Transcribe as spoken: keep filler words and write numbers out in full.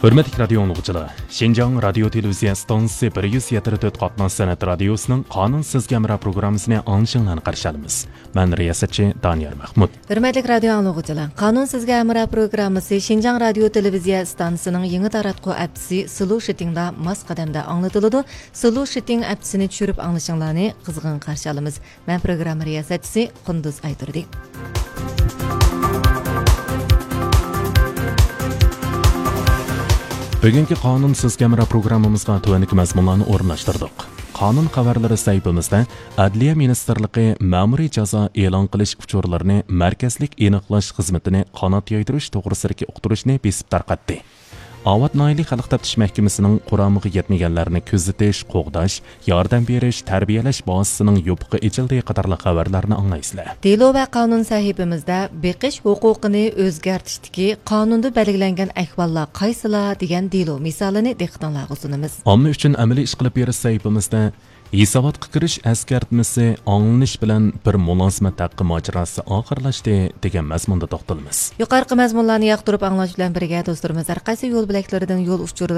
ھۆرمەتلىك رادىيو ئاڭلىغۇچىلار، شىنجاڭ رادىيو تېلېۋىزىيە ئىستانسىسى بىر يۈز يەتتە تۆت قاتناش سەنئەت رادىيوسىنىڭ قانۇن سىزگە ھەمراھ پروگراممىسىنى ئاڭلىشىڭلارنى قارشى ئالىمىز. مەن رىياسەتچى دانىيار مەخمۇت. ھۆرمەتلىك رادىيو ئاڭلىغۇچىلار، قانۇن سىزگە ھەمراھ پروگراممىسى شىنجاڭ رادىيو تېلېۋىزىيە ئىستانسىسىنىڭ يېڭى تاراتقۇ ئەپسى سلۇشىتىڭدا ماس قەدەمدە ئاڭلىتىلىدۇ. سلۇشىتىڭ ئەپسىنى چۈشۈرۈپ ئاڭلىشىڭلارنى قىزغىن قارشى ئالىمىز. مەن پروگرامما رىياسەتچىسى قۇندۇز ئايتۇردى. بۈگۈنكى قانۇن سىزگە ھەمراھ پروگراممىمىزغا تۆۋەندىكى مەزمۇنلارنى ئورۇنلاشتۇردۇق. قانۇن خەۋەرلىرى سەھىپىمىزدە ئەدلىيە مىنىستىرلىقى مەمۇرىي جازا ئېلان قىلىش ئۇچۇرلىرىنى مەركەزلىك ئېنىقلاش خىزمىتىنى قانات يايدۇرۇش توغرىسىدىكى ئۇقتۇرۇشنى بېسىپ تارقاتتى. ئاۋات ناھىيەلىك خەلق تەپتىش مەھكىمىسىنىڭ قۇرامىغا يەتمىگەنلەرنى كۆزىتىش، قوغداش، ياردەم بېرىش، تەربىيەلەش بازىسىنىڭ يوپۇقى ئېچىلدى قاتارلىق خەۋەرلەرنى ئاڭلايسىلەر. دېلو ۋە قانۇن سەھىپىمىزدە بېقىش ھوقۇقىنى ئۆزگەرتىشتىكى قانۇندا بەلگىلەنگەن ئەھۋاللار قايسىلار دېگەن دېلو مىسالىنى دىققىتىڭلارغا سۇنىمىز. ئامما ئۈچۈن ئەمەلىي ئىشقىلىپ بېرىش سەھىپىمىزدە ھېساباتقا كىرىش ئەسكەرتمىسى ئاڭلىنىش بىلەن بىر مۇلازىمەت ھەققى ماجىراسى ئاخىرلاشتى دېگەن مەزمۇندا توختىلىمىز. يۇقىرىقى مەزمۇنلارنى ياقتۇرۇپ ئاڭلاش بىلەن بىرگە، دوستلىرىمىز ھەر قايسى يول بۆلەكلىرىدىن يول ئۇچۇر